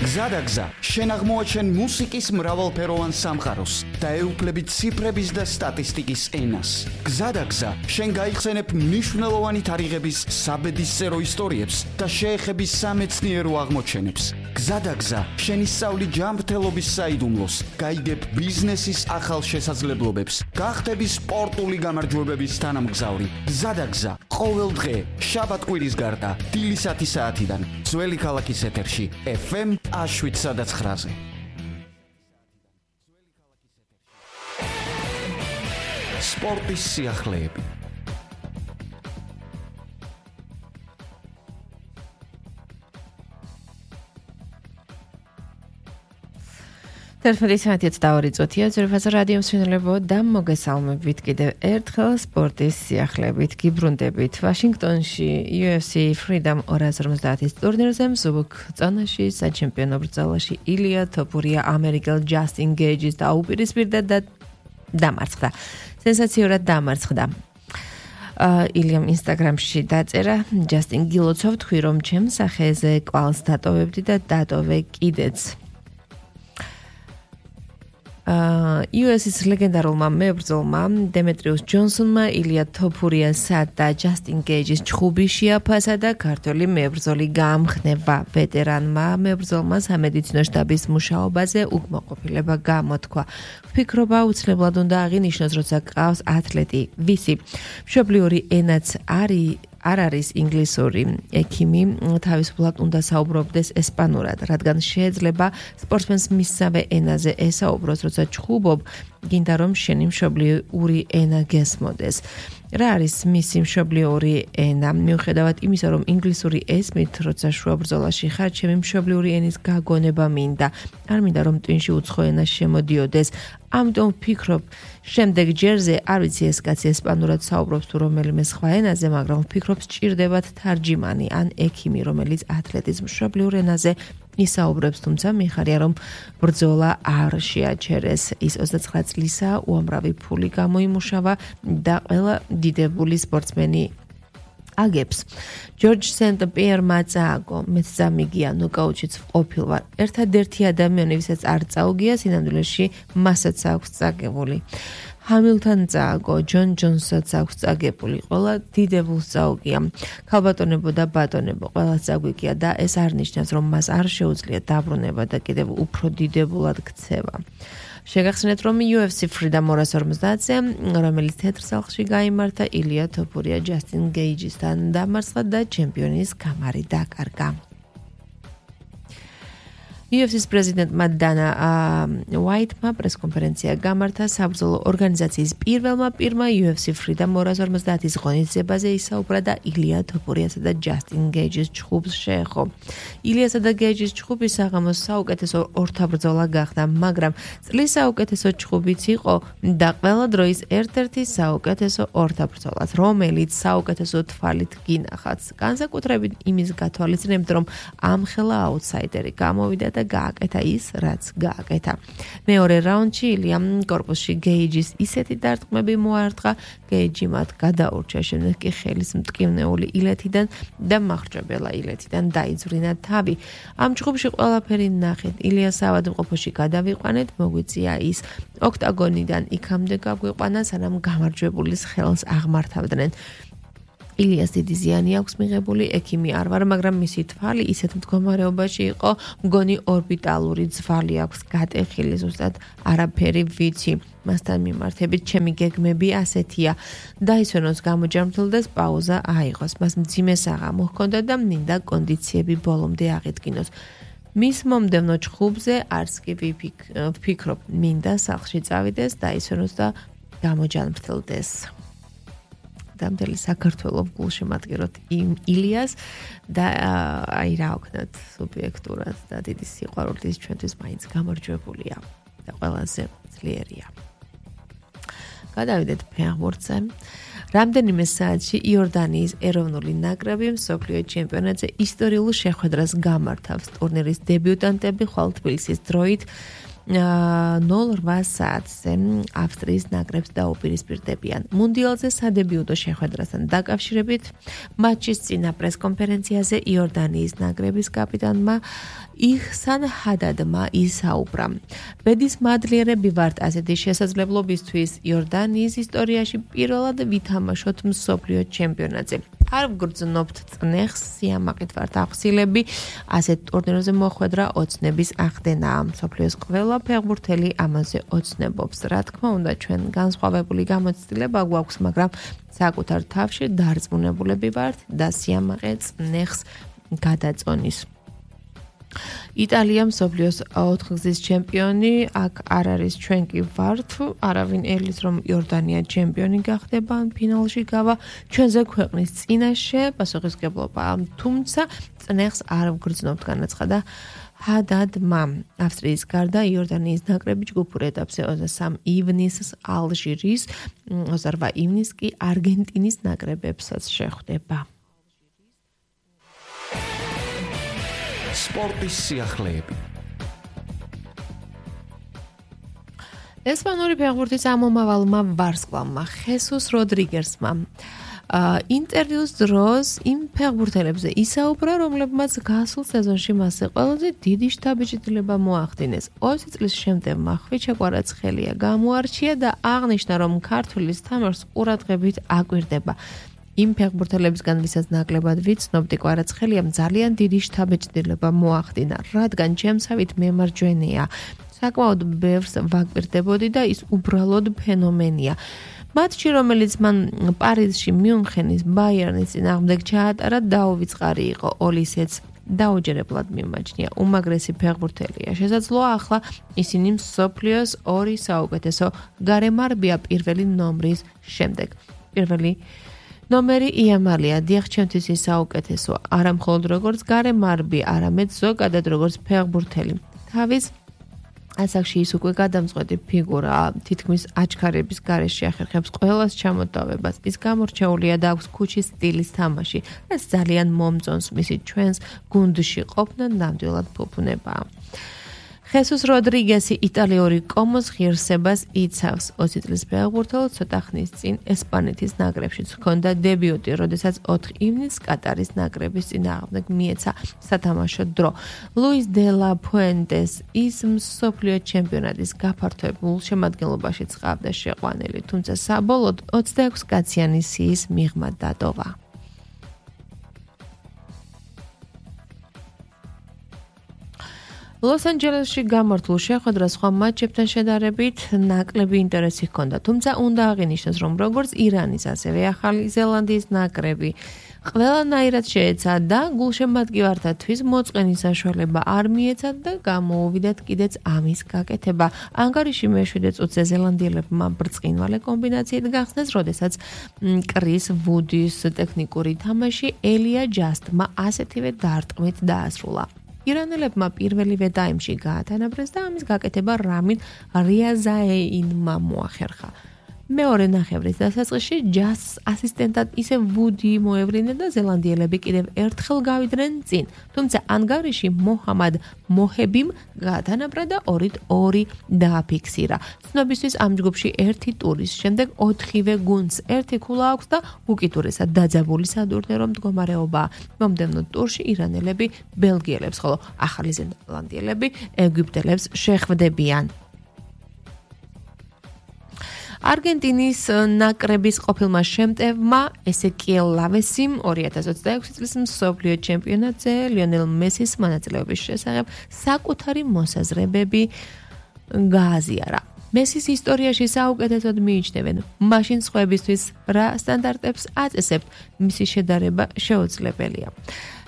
გზადაგზა, შენ აღმოაჩენ მუსიკის მრავალფეროვან სამყაროს და ეუფლებით ციფრების და სტატისტიკის ენას. გზადაგზა, შენ გაიხსენებ მნიშვნელოვანი თარიღების საბედისწერო ისტორიებს და შეეხები სამეცნიერო აღმოჩენებს. გზადაგზა, შენ ისწავლი ჯანმრთელობის საიდუმლოს, გაიგებ ბიზნესის ახალ შესაძლებლობებს, გახდები სპორტული გამარჯვებების თანამგზავრი. გზადაგზა, ყოველ დღე, შაბათ-კვირის გარდა, დილის 10 საათიდან, ძველი ქალაქის ეთერში, FM 7-9-ზე. სპორტის სიახლეები. Თერთმეტი საათიც დავარიწოთია ზურფაზე რადიო მსმენელებო და მოგესალმებით კიდევ ერთხელ სპორტის სიახლეებით გიბრუნდებით ვაშინგტონში UFC Freedom 250-ის ტურნირზე მსუბუქ წონაში საჩემპიონო ბრძოლაში ილია თოფურია ამერიკელ ჯასტინ გეიჯის დაუპირისპირდა და დამარცხდა. სენსაციურად დამარცხდა. ილიამ ინსტაგრამში დაწერა ჯასტინ გილოცოვ თქვი რომ ჩემ სახეზე კვალს დატოვებდი და დატოვე კიდეც. UFC-ის ლეგენდარულმა მებრძოლმა დემეტრიუს ჯონსონმა ილია თოფურიასა და ჯასტინ გეიჯის ჩხუბი შეაფასა და ქართველი მებრძოლი გაამხნევა. ვეტერანმა მებრძოლმა სამედიცინო შტაბის მუშაობაზე უკმაყოფილება გამოთქვა. ვფიქრობა უცნებლად უნდა აღინიშნოს, როცა გყავს ათლეტი, ვისი მშობლიური ენაც არ არის ინგლისური, ექიმი თავისუფლად უნდა საუბრობდეს ესპანურად, რადგან შეიძლება სპორტსმენს მისსავე ენაზე ესაუბროს, როცა ჩხუბობ, გინდა რომ შენი მშობლიური ენა გესმოდეს. რა არის მისი მშობლიური ენა? მიუხედავად იმისა, რომ ინგლისური ესმით, როცა შუა ბრძოლაში ხარ, ჩემი მშობლიური ენის გაგონება მინდა. არ მინდა რომ ტვინში უცხო ენა შემოდიოდეს. ამიტომ ვფიქრობ, შემდეგ ჯერზე არ ვიცი ეს კაცი ესპანურად საუბრობს თუ რომელიმე სხვა ენაზე, მაგრამ ვფიქრობ სჭირდებათ თარჯიმანი ან ექიმი, რომელიც ათლეტის მშობლიურ ენაზე ისაუბრებს, თუმცა მიხარია რომ ბრძოლა არ შეაჩერეს. ის 29 წლისაა, უამრავი ფული გამოიმუშავა და ყველა დიდებული სპორტსმენი აგებს. ჯორჯ სენტ-პიერმა წააგო, მეც წამიგია, ნოკაუტშიც ვყოფილ ვარ. ერთადერთი ადამიანი, ვისაც არ წაუგია, სინამდვილეში მასაც აქვს წაგებული. ჰამილტონ წააგო, ჯონ ჯონსაც აქვს წაგებული, ყველა დიდებულს წაუგია. ქალბატონებო და ბატონებო, ყველა წაგვიგია და ეს არ ნიშნავს, რომ მას არ შეუძლია დაბრუნება და კიდევ უფრო დიდებულად ქცევა. შეგახსენეთ, რომ UFC Freedom 250-ზე, რომელიც თეთრ სახლში გაიმართა, ილია თოფურია ჯასტინ გეიჯისთან დამარცხდა და ჩემპიონის გამარი დაკარგა. UFC-ის პრეზიდენტმა დანა ვაიტმა პრესკონფერენცია გამართა საბრძოლო ორგანიზაციის პირველმა UFC Freedom 250-ის ღონისძიებაზე ისაუბრა და ილია თოფურიასა და ჯასტინ გეიჯის ჩხუბს შეეხო. ილიასა და გეიჯის ჩხუბი საღამოს საუკეთესო ორთაბრძოლა გახდა, მაგრამ წლის საუკეთესო ჩხუბიც იყო და ყველა დროის ერთ-ერთი საუკეთესო ორთაბრძოლაც, რომელიც საუკეთესო თვალით გინახავს. განსაკუთრებით იმის გათვალისწინებთ, რომ ამხელა აუტსაიდერი გამოვიდა და გააკეთა ის, რაც გააკეთა. მეორე რაუნდში ილიამ კორპუსში გეიჯის ისეთი დარტყმები მოარტყა, გეიჯი მათ გადაურჩა, შემდეგ კი ხელის მტკივნეული ილეთიდან და მახრჭებელა ილეთიდან დაიძვრინა თავი. ამ ჩხუბში ყველაფერი ნახეთ. ილიას ავადმყოფოში გადავიყვანეთ, მოგვიწია ის ოქტაგონიდან იქამდე გაგვიყვანა, სანამ გამარჯვებულის ხელს აღმართავდნენ. ილიას დიდი ზიანი აქვს მიღებული, ექიმი არ ვარ, მაგრამ მისი თვალი ისეთ მდგომარეობაში იყო, მგონი ორბიტალური ძვალი აქვს გატეხილი, ზუსტად არაფერი ვიცი. მასთან მიმართებით ჩემი გეგმები ასეთია. დაისვენოს გამოჯამრთელდეს, პაუზა აიღოს. მას მძიმე საღამო ჰქონდა და მინდა კონდიციები ბოლომდე აღედგინოს. მის მომდევნო ჩხუბზე არც კი ვფიქრობ, მინდა სახლში წავიდეს, დაისვენოს და გამოჯამრთელდეს. დამდელი საქართველოს გულშემატკივრად ილიას და აი რა ვქნათ სუბიექტურად და დიდი სიყვარულით ჩვენთვის მაინც გამარჯვებულია და ყველაზე ძლიერია. გადავიდეთ ფეხბურთზე. რამდენიმე საათში იორდანიის ეროვნული ნაკრები მსოფლიო ჩემპიონატზე ისტორიულ შეხვედრას გამართავს. ტურნირის დებიუტანტები ხვალ თბილისის დროით 0:08 საათზე ავსტრიის ნაკრებს დაუპირისპირდებიან. მუნდიალზე სადებიუტო შეხვედრასთან დაკავშირებით მატჩის წინა პრესკონფერენციაზე იორდანიის ნაკრების კაპიტანმა იჰსან ჰადადმა ისაუბრა. ბედის მადლიერები ვართ ასეთი შესაძლებლობისთვის იორდანიის ისტორიაში პირველად ვითამაშოთ მსოფლიო ჩემპიონატზე. არ ვგრძნობთ წნეხს, სიამაყით ვართ ახსილები, ასეთ ტურნირებზე მოხვედრა ოცნების ახდენაა. მსოფლიოს ყველა ფეხბურთელი ამაზე ოცნებობს. რა თქმა უნდა, ჩვენ განსხვავებული გამოცდილება გვაქვს, მაგრამ საკუთარ თავში დარწმუნებულები ვართ და სიამაყე წნეხს გადაწონის. იტალია მსოფლიოს 4-გზის ჩემპიონი, აქ არ არის ჩვენ კი ვართ, არავინ ელის რომ იორდანია ჩემპიონი გახდება ან ფინალში გავა, ჩვენზე ქვეყნის წინაშე პასუხისმგებლობა, თუმცა წნეხს არ ვგრძნობთ, განაცხადა ჰადადმა. ავსტრიის გარდა იორდანიის ნაკრები ჯგუფურ ეტაპზე 23 ივნისს ალჟირის, 28 ივნისს კი არგენტინის ნაკრებებსაც შეხვდება. სპორტის სიახლეები. ესპანური ფეხბურთის ამომავალმა ვარსკვლავმა ხესუს როდრიგესმა ინტერვიუს დროს იმ ფეხბურთელებზე ისაუბრა, რომლებმაც გასულ სეზონში მასზე ყველაზე დიდი შთაბეჭდილება მოახდინეს. 20 წლის შემდეგმა ხვიჩა კვარაცხელია გამოარჩია და აღნიშნა, რომ ქართულის თამაშს ყურადღებით აკვირდება. იმ ფეხბურთელებისგან, ვისაც ნაკლებად ვიცნობდი, კვარაცხელიამ ძალიან დიდი შთაბეჭდილება მოახდინა, რადგან ჩემსავით მემარჯვენეა. საკმაოდ ბევრს ვაკვირდებოდი და ის უბრალოდ ფენომენია. მატჩი, რომელიც მან პარიზში მიუნხენის ბაიერნის წინააღმდეგ ჩაატარა, დაუვიწყარი იყო. ოლისეც დაუჯერებლად მიმაჩნია. უმაგრესი ფეხბურთელია. შესაძლოა ახლა ისინი მსოფლიოს 2 საუკეთესო გარემარბია პირველი ნომრის შემდეგ. პირველი ნომერი იამალია, დიახ, ჩემთვის ის საუკეთესო, არა მხოლოდ როგორც გარემარბი, არამედ ზოგადად როგორც ფეხბურთელი. თავის ასაკში ის უკვე გადამწყვეტი ფიგურა, თითქმის აჩქარების გარეშე ახერხებს ყველას ჩამოტავებას. ის გამორჩეულია და აქვს ქუჩის სტილის თამაში, რაც ძალიან მომწონს, მისი ჩვენს გუნდში ყოფნა ნამდვილად ფუფუნებაა. ხესუს როდრიგესი იტალიური კომოს ღირსებას იცავს. 20 წლის ფეხბურთელად ცოტა ხნის წინ ესპანეთის ნაკრებშიც ჰქონდა დებიუტი, როდესაც 4 ივნისს კატარის ნაკრების წინააღმდეგ მიეცა სათამაშო დრო. ლუის დე ლა ფუენტეს ის მსოფლიო ჩემპიონატის გაფართოებულ შემადგენლობაში წყავდა შეყვანილი, თუმცა საბოლოოდ 26 კაციანი სიის მიღმა დატოვა. ლოს-ანჯელესში გამართულ შეხვედრას სხვა მატჩებთან შედარებით ნაკლები ინტერესი ჰქონდა, თუმცა უნდა აღინიშნოს, რომ როგორც ირანის, ასევე ახალი ზელანდიის ნაკრები ყველანაირად შეეცა და გულშემატკივართათვის მოწყენის საშუალება არ მიეცათ და გამოუვიდათ კიდეც ამის გაკეთება. ანგარიში მე-7 წუთზე ზელანდიელებმა ბრწყინვალე კომბინაციით გახსნეს, როდესაც კრის ვუდის ტექნიკური თამაში ელია ჯასტმა ასეთივე დარტყმით დაასრულა. ირანელებმა პირველივე ტაიმში გაათანაბრეს და ამის გაკეთება რამინ რიაზაეინმა მოახერხა. მეორე ნახევრის დასაწყისში ჯასტს ასისტენტად ისე ვუდი მოევლინა და ზელანდიელები კიდევ ერთხელ გავიდნენ წინ. თუმცა ანგარიში მოჰამად მოჰებიმ გაათანაბრა და 2-2 დააფიქსირა. ცნობისთვის ამ ჯგუფში ერთი ტურის შემდეგ 4-ვე გუნდს ერთი ქულა აქვს და უკიდურესად დაძაბული სადურნერო მდგომარეობაა. მომდევნო ტურში ირანელები ბელგიელებს, ხოლო ახალი ზელანდიელები ეგვიპტელებს შეხვდებიან. არგენტინის ნაკრების ყოფილმა შემტევმა ესეკიელ ლავესიმ 2026 წლის მსოფლიო ჩემპიონატზე ლიონელ მესის მონაწილეობის შესახებ საკუთარი მოსაზრებები გააზიარა. მესის ისტორიაში საუკეთესოდ მიიჩნევენ, მაშინ სხვებისთვის რა სტანდარტებს აწესებთ, მისი შედარება შეუძლებელია.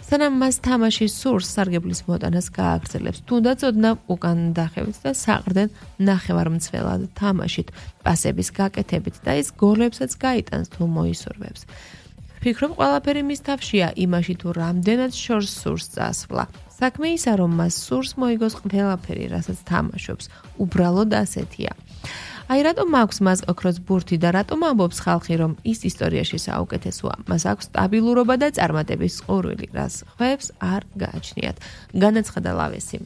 სანამ მას თამაში სურს, სარგებლის მოტანას გააგრძელებს, თუნდაც ოდნავ უკან დახევით და საყრდენ ნახევარმცველად თამაშით, პასების გაკეთებით და ის გოლებსაც გაიტანს თუ მოისურვებს. ვფიქრობ, ყველაფერი მის თავშია, იმაში თუ რამდენად შორს სურს წასვლა. საქმე ისა, რომ მას სურს მოიგოს ყველაფერი, რასაც თამაშობს, უბრალოდ ასეთია. აი რატომ აქვს მას ოქროს ბურთი და რატომ ამბობს ხალხი, რომ ის ისტორიაში საუკეთესოა? მას აქვს სტაბილურობა და წარმატების ყურვილი, რას ხვევს არ გააჩნიათ, განაცხადა ლავესიმ.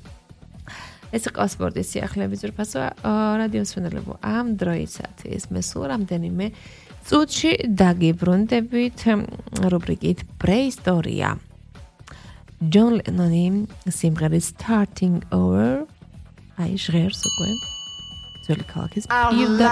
ეს იყო სპორტის სიახლეების ძვირფასო რადიოს ფენელებო ამ დროისათვის მე სულ რამდენიმე წუთში დაგიბრუნდებით რუბრიკით პრეისტორია ჯონ ლენონი სიმღერის starting over აი ჟღერს უკვე ძველი ქალაქის პირდაპირ